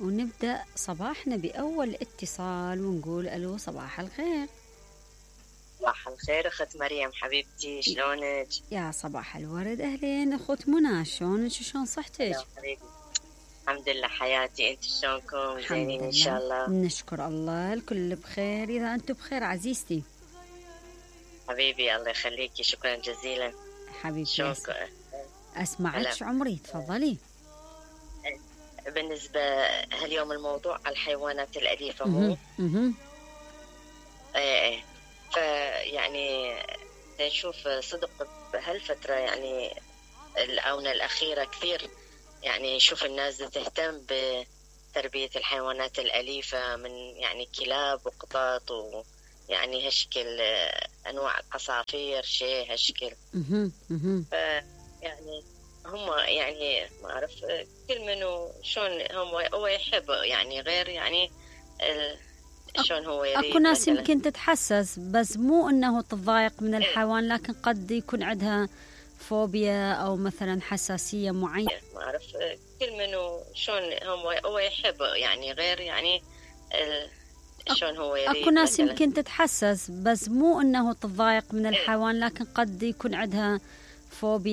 ونبدأ صباحنا بأول اتصال ونقول ألو صباح الخير. صباح الخير أخت مريم حبيبتي، شلونك؟ يا صباح الورد، أهلين أخت منى، شلونك وشلون صحتك؟ يا حبيبي الحمد لله حياتي، أنت شلونكم؟ زينين إن شاء الله؟ نشكر الله الكل بخير، إذا أنتم بخير عزيزتي. حبيبي الله يخليكي، شكرا جزيلا حبيبتي أسمعك عمري، تفضلي. بالنسبة هاليوم الموضوع على الحيوانات الأليفة مو؟ فيعني نشوف صدق بهالفترة يعني الآونة الأخيرة كثير يعني نشوف الناس تهتم بتربية الحيوانات الأليفة من يعني كلاب وقطط ويعني هالشكل أنواع عصافير شيء هالشكل. يعني هم يعني ما أعرف كل منو شون هو يحب يعني غير يعني شون هو يريد. أكو ناس يمكن تتحسس بس مو أنه تتضايق من الحيوان، لكن قد يكون عندها فوبيا أو مثلا حساسية معينة. ما أعرف كل منو شون هو يحب يعني غير يعني شون هو يريد. أكو ناس يمكن تتحسس بس مو أنه تتضايق من الحيوان، لكن قد يكون عندها فوبيا.